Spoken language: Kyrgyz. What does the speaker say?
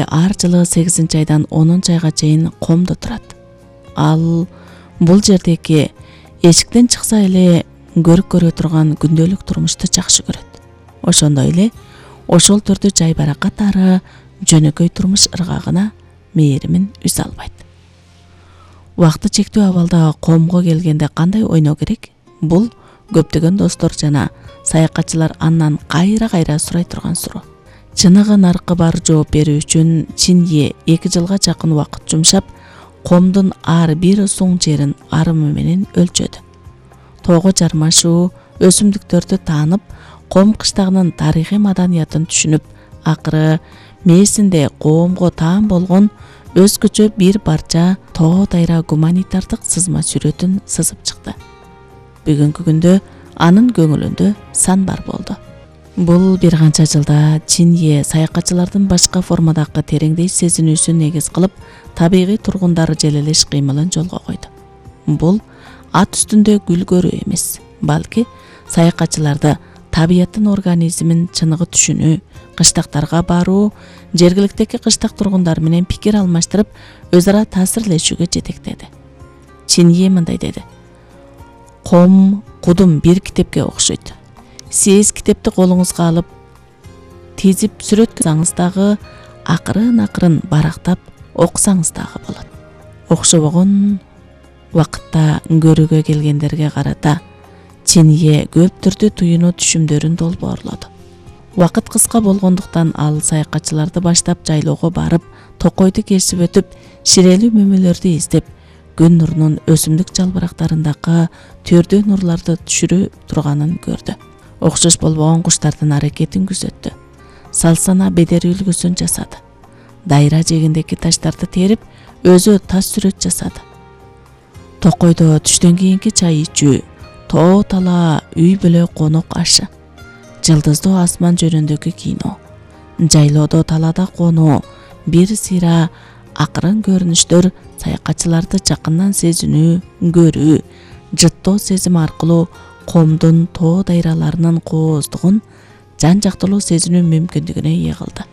ар жылы 8-айдан 10-айга чейин комдо турат. Ал бул жердеги эшиктен чыкса эле көрүп турган күндөлүк турмушту жакшы көрөт. Ошондой эле ошол түрдө жай баракат ары жөнөкөй турмуш ыргагына мээримин үз албайт. Убакыты чектүү абалда комго келгенде кандай ойноо керек? Бул көптөгөн достор жана саякатчылар андан кайра сурай турган суроо. Чыныгы наркы бар жооп берүү үчүн Чинье 2 жылга жакын убакыт жумшап, комдун ар бир суң жерин арымы менен өлчөдү. Тоого жармашуу, өсүмдүктөрдү таанып, ком кыштагынын тарыхый маданиятын түшүнүп, акыры мээсинде коомго таан болгон өзгөчө бир барча тоо дайра гуманитардык сызма сүрөтүн сызып чыкты. Бүгүнкү күндө анын көңүлүндө сан бар болду. Бул бир канча жылда Чинье саякатчылардын башка формадагы тереңдеш сезинүүсүн негиз кылып, табигый тургундар желелеш кыймылын жолго койду. Бул ат үстүндө гүл көрүү эмес, балки саякатчыларды табияттын организмин чыныгы түшүнүү, кыштактарга баруу, жергиликтеги кыштак тургундар менен пикир алмаштырып, өз ара таасирлешүүгө жетектеди. Чинье мындай деди: ком кудум бир китепке окшойт. Сиз китепти колуңузга алып, тизип сүрөткөзсөңүз дагы, акырын барактап окусаңыз дагы болот. Окшобогон убакытта көрүүгө келгендерге карата Чинье көп түрдүү туюну түшүмдөрүн долбоорлоду. Убакыт кыска болгондуктан ал саякатчыларды баштап жайлоого барып, токойду кесип өтүп, ширелүү мөмөлөрдү издеп, күн нурунун өсүмдүк жалбырактарындагы төрдүү нурларды түшүрө турганын көрдү. Окшош болбогон куштардын аракетин күзөттү. Салсана бедери үлгүсүн жасады. Дайра жегиндеги таштарды терип, өзү тас сүрөт жасады. Токойдо түштөн кийинки чай ичүү, тоо тала үй бүлө конок ашы, жылдыздуу асман жөнүндөгү кино, жайлоодо талада конуу, бир сыйра акырын көрүнүштөр саякатчыларды жакындан сезинүү, көрүү, жыттоо сезим аркылуу комдун тоо дайраларынын кооздугун жан жактылуу сезинүү мүмкүндүгүнө ээ кылды.